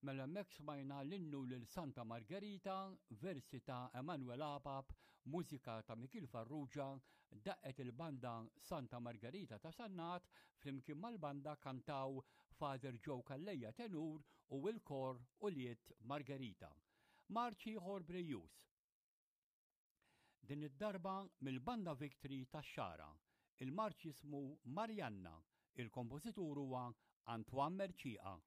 Mela hemmhekk smajna l-innu lil Santa Margerita, versi ta' Emanuel Apap, mużika ta' Mikiel Farrugia, daqqet il-banda Santa Margerita ta' Sannat, flimkien mal-banda kantaw Father Joe Calleja tenur u l-kor Ulied Margerita. Marċ ieħor brijuż. Din id-darba mill-Banda Victory tax-Xagħra. Il-marċ jismu Marianna, il-kompożitur huwa Antoine Mercieca.